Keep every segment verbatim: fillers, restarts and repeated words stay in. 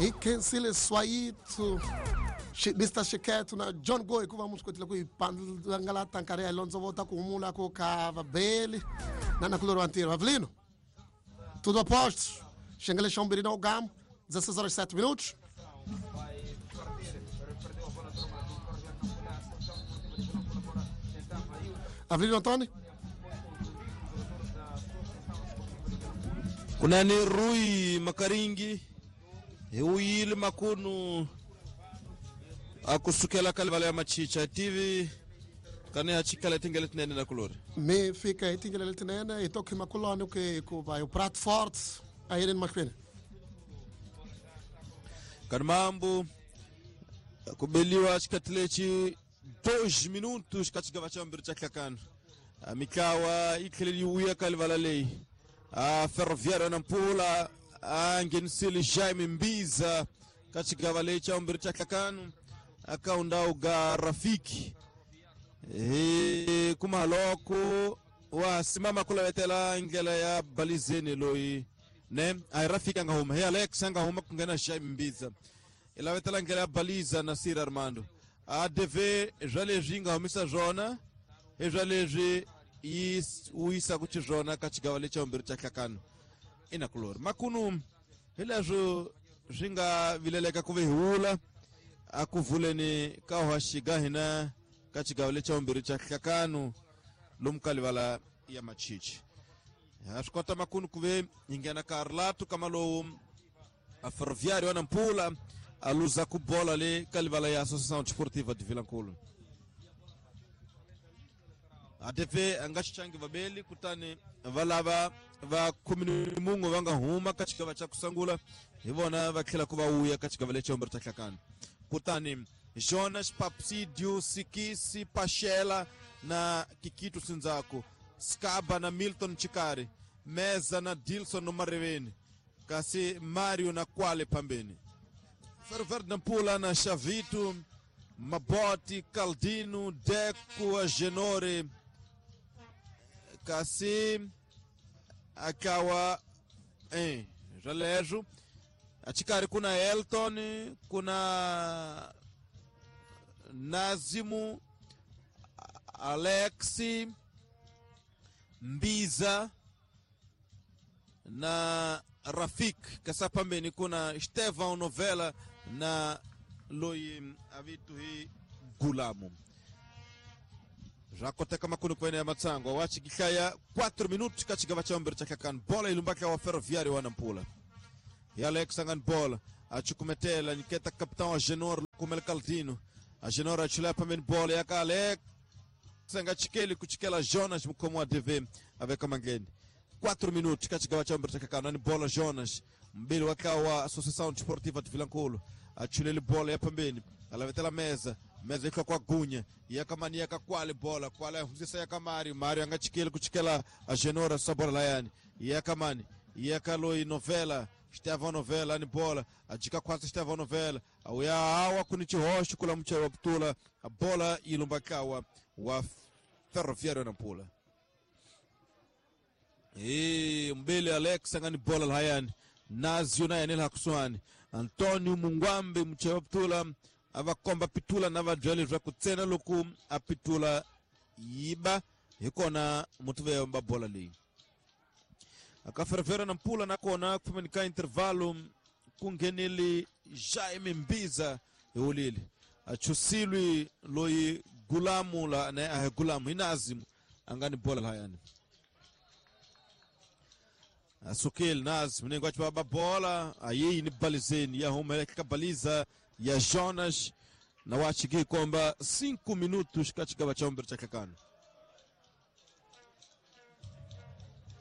Hi khensile Swayito Mister Xiketo na John Goy ku va mu swi kotile ku hi pangalata nkarhi ya londzovota ku humula ku ka vabeli na nakulori wa ntirho. Avelino, tudo a postos. Xengele xa vumbirhi na ugamu, dezesseis horas e sete minutos. Avelino Antônio. Kunani Rui Makaringi hi wuyile makunu a kusukela ka livala ya Machicha T V kani ha chikala tingele tinene na kulori. Mi fika hi tingele letinene hi to khima kuloni ku hikuva hi prato forte a yeleni mahlweni. Kani mambo kubeliwa xikati lexi dois minutos ka xigava xa vumbirhi xa hlakano. Mitlawa yi tlhele yi vuya ka livala leyi. A Ferroviário Nampula a nghenisile Jaime Mbiza ka xigava lexi xa vumbirhi xa hlakano aka undhawu ga Rafiki hi kuma loko wa simama ku lavetela ndlela ya Balizeni loyi ne a hi Rafiki a nga huma hi Alex a nga huma ku nghena Jaime Mbiza i lavetela ndlela ya Baliza na Sir Armando. A D V swa leswi yi nga humisa swona hi swa leswi yi wuyisaka xiswona ka xigava lexi xa vumbirhi xa hlakano inakulori makunu hi leswo swi nga vileleka ku ve hi wula a ku vuleni ka hoxiga hina ka xigava lexi xa vumbirhi xa hlakano lomu ka livala ya Machichi. Ha swi kota makunu ku ve hi nghena ka rilato kama lowu a Ferroviário ya Nampula a luza ku bola le ka livala ya Associação Desportiva de Vilankulo. A D V a nga xichangi vabeli kutani va lava va khume ni mun'we va nga huma ka xigava xa ku sungula hi vona va tlhela ku va wuya ka xigava lexi xa vumbirhi xa hlakano. Kutani Jonas Papsidio Sikisi Pachela na Kikito Sinzaku, Skaba na Milton Chikari, Meza na Dilson Mareveni, kasi Mario na Kwale pambeni. Ferroviário Nampula na Chavito, Maboti, Caldino, Deco, Agenore, kasi akawa eh, Jalejo, achikari kuna Elton, kuna Nazimu, Alexi, Mbiza na Rafik. Kasa pambeni kuna Estevão Novela na loyi avitu hi Gulamu. Jakoteka makunu kwene ya matsango wachikihlaya quatro minutos ka xigava xa vumbirhi xa hlakano. Bola yi lumbaka wa Ferroviário wa Nampula. Hi Alex angani bola achukumetela nyiketa capitão Agenor kumele Caldino. Agenor achulaya pambeni bola ya ka Alex anga chikeli kuchikela Jonas mukhomo wa D V aveka mangeni. quatro minutos ka xigava xa vumbirhi xa hlakano ani bola Jonas mbili wa ka wa Associação Desportiva de Vilankulo achulele bola ya pambeni alavetela meza meza ihlwa kwa gunya yakamani yakakwale bola kwale ahunzisa yaka Mario Mario anga chikeli kuchikela Agenora sa bola layani yakamani yakaloi Novela Estevão Novela ani bola ajika kwasa Estevão Novela auya awa kuni chihoxo kula muchero wa putula a bola ilumbakawa wa Ferroviário Nampula. E mbele Alex angani bola lahayani Nazio naye anela hakusuani Antonio Mungwambe muchero wa putula avakomba pitula na vabyele swa ku tsena loko a pitula yiba hi kona mutuve ba bola leyi aka Ferroviário Nampula nakona ku fambeni ka intervalo ku nghenele Jaime Mbiza hi wulile achusilwi loyi Gulamu la ne a Gulamu hi Nazimu a nga ni bola lahayani asukile Nazim ningo achi ba bola ayi ni balizeni ya huma ka baliza ya Jonas na wachiki komba cinco minutos ka xigava xa vumbirhi xa hlakano.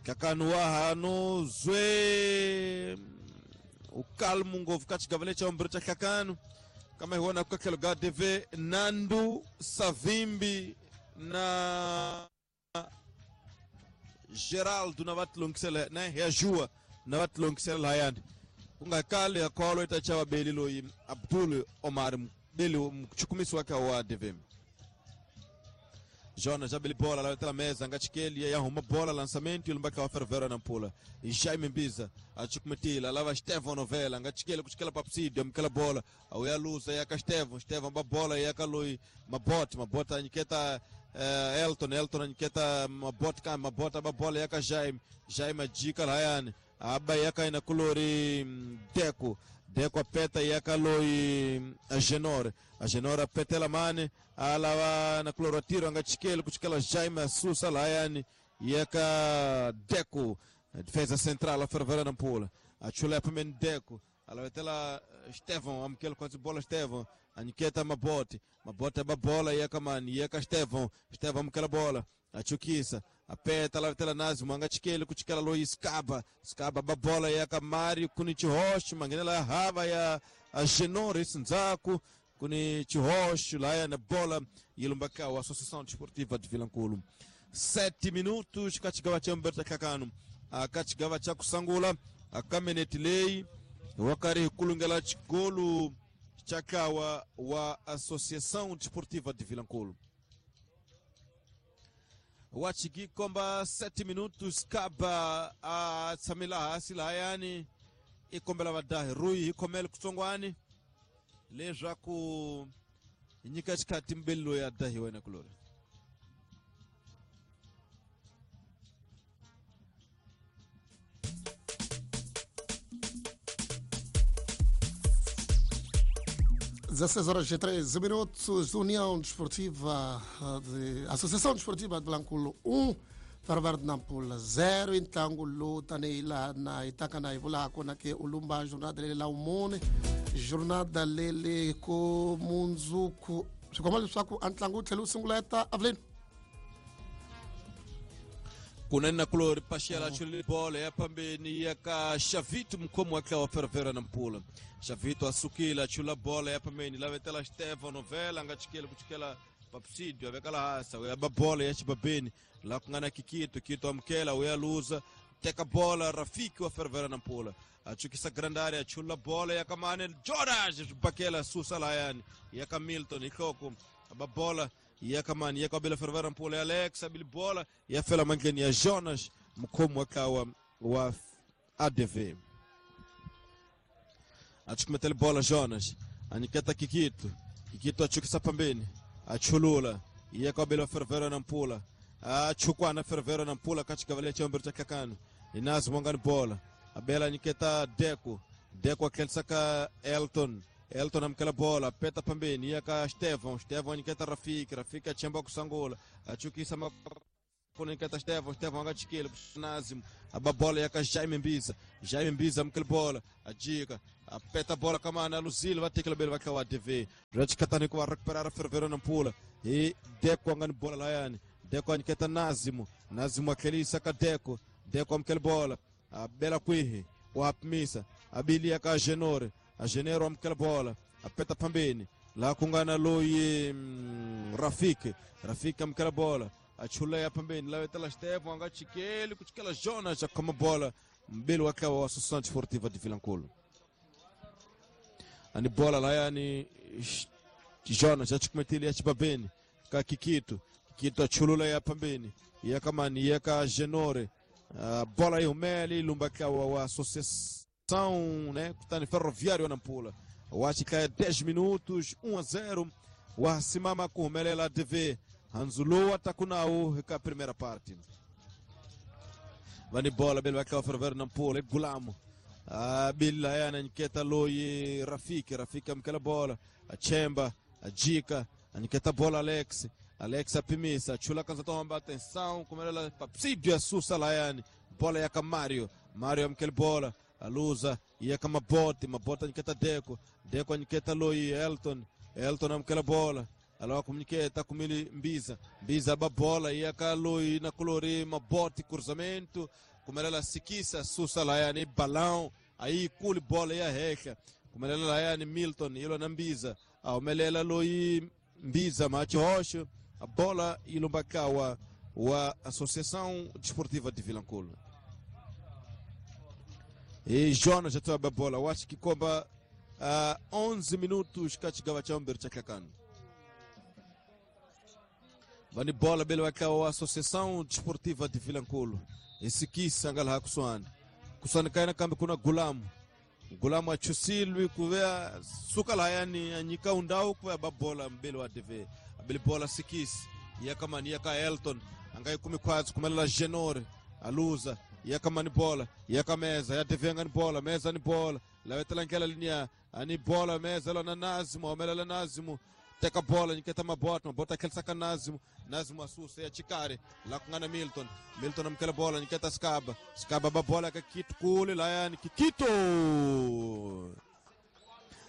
Hlakano wa hano zwe ukalmu ngopfu ka xigava lexi xa vumbirhi xa hlakano kama hi vona ka tlhelo ga D V Nandu Savimbi na Geraldo na va tilongisela ne ya Jua na va tilongisela lahayani ku nga kali ya kholo ita chava beli loyi Abdul Omar beli mchukumisi wake wa D V Jonas abili bola la mesa ngachikeli ya huma bola lançamento ilumbaka wa Ferroviário Nampula. E Jaime Mbiza achukumetila lava Estevão Novela ngachikeli kuchikela papsidio mkela bola au ya luza ya Estevão Estevão ba bola ya Kalui Mabot Mabot aniketa uh, Elton Elton aniketa Mabot ka Mabot ba bola ya ka Jaime Jaime jika layani aba yaka ina kulori Deco Deco apeta yaka loi Agenor Agenor apetela mane alawa na kuloro tiro angachikele kuchikela Jaime Susa layani yaka Deco defesa central a Ferroviária Nampula achulepa men Deco alavetela Estevão amkele quase bola Estevão aniketa Mabote Mabote ba bola yaka mani yaka Estevão Estevão amkela bola achukisa apeta lá tela Nazimo angachikele kuchikela Luiz Caba Scaba babola ya Kamari kuni Chihoshi mangenela hava ya Agenor Sinzaku kuni Chihoshi lá ya na bola ilumbaka a Associação Desportiva de Vilanculo. Sete minutos kachigawa cha Mberta Kakano akachigawa cha kusangula akameneti lei wakari kulungela chigolu chakawa wa Associação Desportiva de Vilanculo. Wachiki komba sete minutos kaba a tsamila hasi layani ikombela vadahi rui ikhomele kutsongwani leswaku nyika xikhati mbeli loyi a dahiwa wena kulori. dezesseis horas e treze minutos, União Desportiva de, Associação Desportiva de Vilanculo um, Ferroviário de Nampula zero, então luta neila na itaka na ivula kona ke ulumba jornada lele la umone jornada lele ko munzuku sikomali swaku antlangu tlhelu sunguleta Avelino kunena kulori pashiela chuli bola ya pambeni ya ka Xavito mkhomo wa wa Ferroviário Nampula. Xavito asukila chula bola ya pambeni lavetela Estevão Novela ngachikela kuchikela papsidio avekala hasa ya bola ya chibabeni la kungana Kikito Kito amkela uya luza teka bola Rafiki wa Ferroviário Nampula achukisa grande área chula bola ya kamane Jonas bakela susa layani ya Kamilton ihloko ababola ya kamani ya kabila Ferroviário Nampula Alex abili bola ya fela mangeni ya Jonas mkhomo wa wa A D V achukumetele bola Jonas aniketa Kikito Kikito achukisa pambeni achulula ya kabila Ferroviário Nampula achukwana Ferroviário Nampula katika vale chombo cha kakano inazi mwangani bola abela aniketa Deco Deco akelsaka Elton Elton amkela bola peta pambeni yaka Estevão Estevão aniketa Rafiki Rafiki achemba kusangula achukisa makona aniketa Estevão Estevão angachikele Nazimo ababola yaka Jaime Mbiza Jaime Mbiza amkela bola ajika apeta bola kamana Luzilo vatekela bele vakawa T V rachikatani kwa recuperar Ferroviário Nampula e Deco angani bola layani Deco aniketa Nazimo Nazimo akelisa ka Deco Deco amkela bola abela kwihi wapmisa abili yaka Genore a Genero amkela bola apeta pambeni la kungana loyi mm, Rafiki Rafiki amkela bola achula ya pambeni la wetela Estevão angachikele kuchikela Jonas akoma bola mbili wakawa wa Associação Desportiva de Vilanculo ani bola la yani Jonas achikumetili ya chibabeni ka Kikito Kikito achulula ya pambeni ya kamani ya ka Genore uh, bola ihumeli lumbakawa wa Associação, né, kutani Ferroviário Nampula wachika dez minutos um a zero wasimama kuhumelela D V Hanzulu atakunau ka primeira parte vani bola bele wakawa Ferroviário Nampula Gulamo abila yana nketa loyi Rafiki Rafiki amkela bola achemba ajika aniketa bola Alex Alex apimisa chula kanza tomba atenção kumelela papsidio asusa layani bola yaka Mario Mario amkela bola aluza yaka Mabote Mabote aniketa Deco Deco aniketa loyi Elton Elton amkela bola alawa kumniketa kumili Mbiza Mbiza babola yaka loyi na kulori Mabote cruzamento kumelela Sikisa susa layani balão aí kuli bola ya heka kumelela layani Milton ilo na Mbiza aumelela loyi Mbiza macho roxo a bola ilumbakawa wa Associação Desportiva de Vilanculo. E Jonas já toba a bola. Eu acho que comba uh, onze minutos kachigawa cha Umber cha Kakano. Vani bola bele wa Associação Desportiva de Vilanculo. Esse anga laha kusuhani. Kusuhani kaina kambe kuna Gulamu. Gulamu achusilwi kuvea suka lahayani anyika undau kuvea babola mbele wa D V. Abele bola sikisi. Yakamani yaka Elton. Angai kumi kwazi kumelela Genore. Aluza. Yakamani bola. Yaka meza. Ya D V angani bola. Meza ni bola. Lawetela nkela linia. Ani bola meza lona Nazimu. Omelela Nazimu. Teka bola niketa mabota mabota kelsaka Nazimu Nazimu asusa ya Chikari la kungana Milton Milton amkela bola niketa Skaba Skaba babola kakitu kule layani Kikito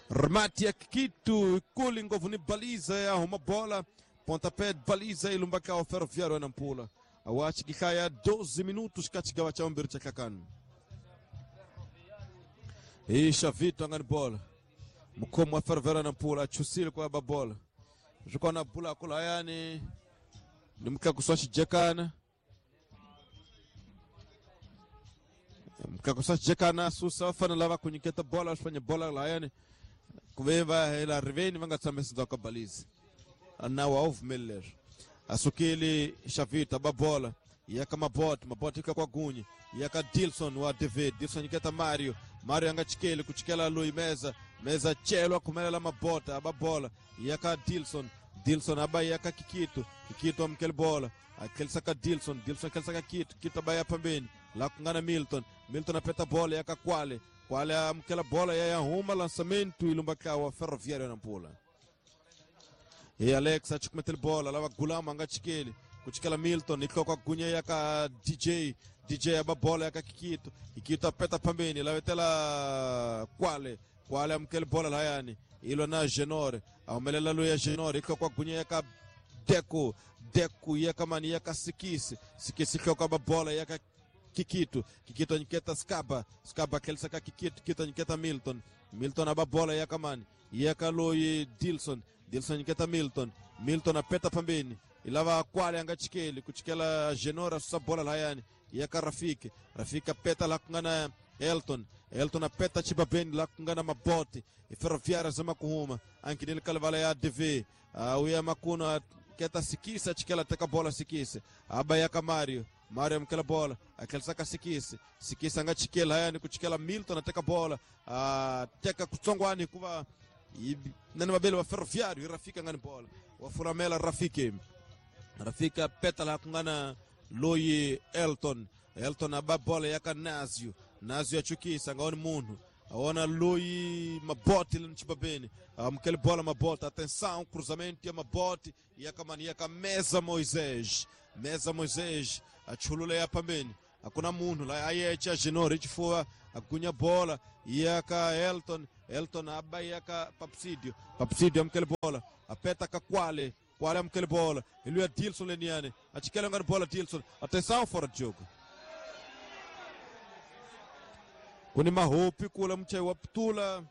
Remate ya Kikito kule ngovu ni baliza ya huma bola pontapé baliza ilumbaka o Ferroviário na Nampula awachi kikaya doze minutos katika wacha ombiri cha kakanu Isha Vito angani bola mkomo wa Ferroviário na Nampula achusile kwa babola juko na bula kula yani ni mkakuswa chijekana mkakuswa chijekana susa wafana lava kunyiketa bola wafanya bola la yani kubeba hela riveni vanga tsamesa za kabalizi na waovumele asukili Shavita babola yaka mabot mabot ika kwa gunyi yaka Dilson wa D V Dilson iketa Mario Mario anga chikele kuchikela Lui meza meza chelwa kumelela mabota ababola yaka Dilson Dilson aba yaka Kikito Kikito amkele bola akelsaka Dilson Dilson akelsaka Kikito Kikito abaya pambeni la kungana Milton Milton apeta bola yaka Kwale Kwale amkela bola ya huma lançamento ilumbaka wa Ferroviário na Nampula e Alex achikumetele bola lava Gulama anga chikele kuchikela Milton ikoko gunya yaka D J D J ababola yaka Kikito Kikito apeta pambeni lawetela Kwale Kwale amkele bola layani ilo na Genore amelela lo ya Genore ikoko gunya yaka Deco Deco yaka mani yaka Sikisi Sikisi ikoko ababola yaka Kikito Kikito niketa Skaba Skaba kelsaka Kikito Kikito niketa Milton Milton ababola yaka mani yaka loyi Dilson Dilson niketa Milton Milton apeta pambeni ilava Kwale anga chikeli kuchikela Genora susa bola layani yaka Rafiki Rafiki apeta la kungana Elton Elton apeta chibabeni la kungana maboti Ferroviário zama kuhuma ankinil kalvala ya D V uh, uya makuna keta Sikisa chikela teka bola Sikisa aba yaka Mario Mario amkela bola akelsaka Sikisa Sikisa anga chikela hayani kuchikela Milton ateka bola uh, teka kutsongwani kuva nani mabele wa Ferroviário Rafiki angani bola wafuramela Rafiki Rafika petala kungana Loyi Elton Elton aba bola yaka Nazio Nazio achukisa ngaoni munhu aona Loyi Maboti lino amkele bola Maboti atenção cruzamento ya Maboti yakamani yaka meza Moisés meza Moisés achulula ya pambeni akuna munhu la ayecha Genore chifua agunya bola yaka Elton Elton aba yaka Papsidio Papsidio amkele bola apeta kakwale Kwale amkele bola iluya Dilson leniane achikele ngani bola Dilson atenção fora de jogo kuni mahopi kula mchai wa ptula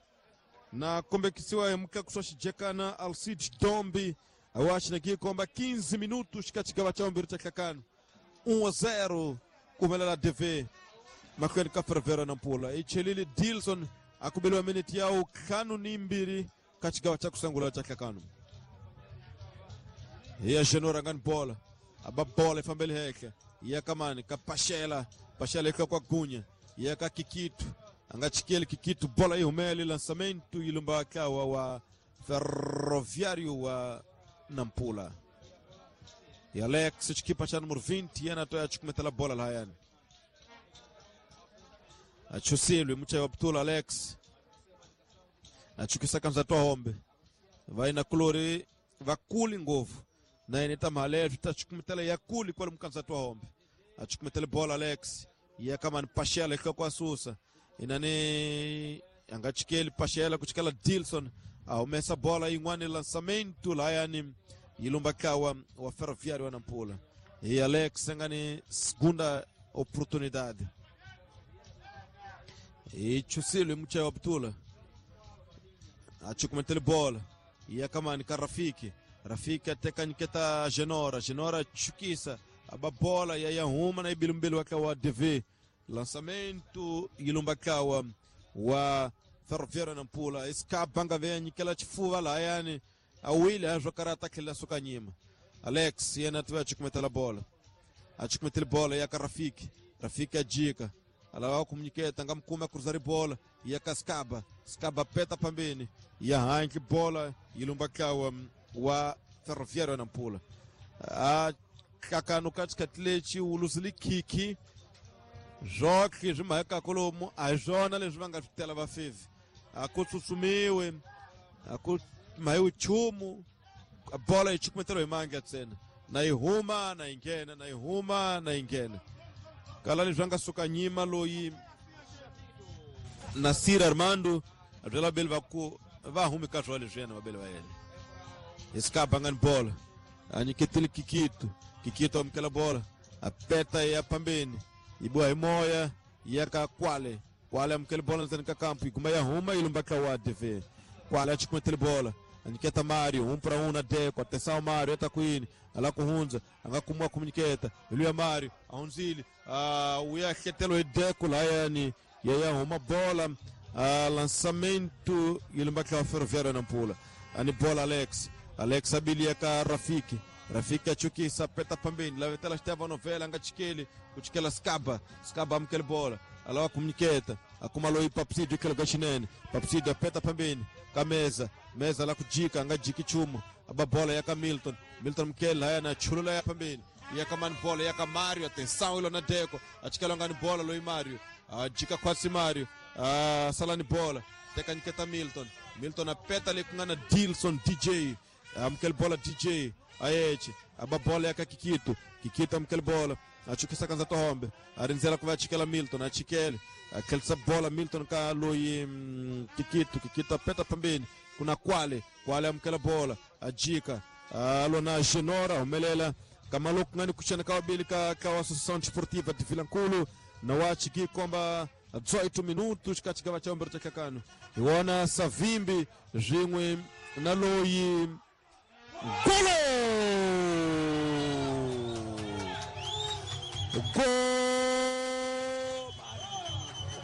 na kombe kisiwa mka kuswashijekana Alcides Dombi awashi na kikomba quinze minutos katika wacha mbiri cha kakano um a zero kumelela D V makweli ka Ferroviário na Nampula ichelili Dilson akubeliwa minute yao kanu ni mbiri katika wacha kusangula cha kakano ya Genora ngani bola aba bola ifambele heke ya kamani kapashela pashela ika kwa gunya ya ka Kikito anga chikele Kikito bola ihumele lançamento ilumba kawa wa Ferroviário wa Nampula ya Alex chikipa cha número vinte yana toya chikumetela bola lahayani achusilwe mcha wa Ptula Alex achukisa kamza toa hombe vaina kulori vakuli ngovu na ineta malevu tachukumetela yakuli kwa mkanza toa hombe achukumetela bola Alex ya kama ni pashela ika kwa susa inani angachikeli pashela kuchikela Dilson aumesa bola ingwani lançamento layani ilumba kawa wa Ferroviário wa Nampula e Alex ngani segunda oportunidade e chusilo mcha wa Ptula achukumetela bola ya kama ni Rafiki Rafiki ateka niketa Genora Genora chukisa aba bola ya yahuma na ibilumbili wakawa D V lançamento ilumba kawa wa Ferroviário Nampula escapanga venye kila chifuva la yani awili azvo karata kila sukanyima Alex yena tiva chukumetela bola a chukumetela bola ya ka Rafiki Rafiki ajika alava kumnyiketa nga mukuma cruzar bola ya ka Skaba Skaba peta pambeni ya handle bola yi lumba ntlawa wa Ferroviário na Nampula a hlakano ka xikhathi lexi wu luzile khikhi zwotlhe swi mhaka kolomu a hi swona leswi va nga swi tela va fevi a ku tsutsumiwe a ku mhayiwi nchumu bola yi chukumeteliwa hi mandla ntsena na yi huma na yi nghena na yi huma na yi nghena kala leswi a nga suka nyima loyi Nasir Armando a byela vabeli va ku va humi ka swona leswi yena vabeli va yena hi Skaba nga ni bola a nyiketile Kikito Kikito amukela bola a peta ya pambeni yi biwa hi moya ya ka Kwale Kwale amukela bola ndzeni ka kampu yi guma ya huma yi lumba ntlawa wa D V Kwale a chukumetele bola a nyiketa Mario um para um na Deco atenção Mario eta kwini ala ku hundza a nga kumiwa ku nyiketa hi luya Mario a hundzile uh, u ya hletelo hi Deco layani ya ya huma bola uh, lançamento yi lumba ntlawa Ferroviário Nampula ani bola Alex Alex abilia ka Rafiki Rafiki achukisa peta pambeni lavetela Stefano Novela nga chikeli kuchikela Skaba Skaba amukela bola alawa kumnyiketa akuma loyi Papsidio tlhelo ka xinene Papsidio apeta pambeni ka Meza Meza la kujika nga jiki chumu aba bola ya ka Milton Milton mukela haya na chulula ya pambeni ya ka mani bola ya ka Mario atenção ilo na Deco achikela ngani bola loyi Mario ajika kwasi Mario salani bola teka nyiketa Milton Milton apeta le ku nga na Dilson D J amukela bola D J ayeche aba bola ya ka Kikito Kikito amukela bola achukisa kanza tohombe arindzela ku va chikela Milton achikele akhelisa bola Milton ka loyi mm, Kikito Kikito apeta pambeni kuna Kwale Kwale amukela bola ajika alona Genora humelela kamaloku ngani kuchana ka wabili ka ka Associação Desportiva de Vilankulo na wachiki komba dezoito minutos ka chigava cha ombero cha kakano iwona Savimbi zwin'we na loyi golo. Gol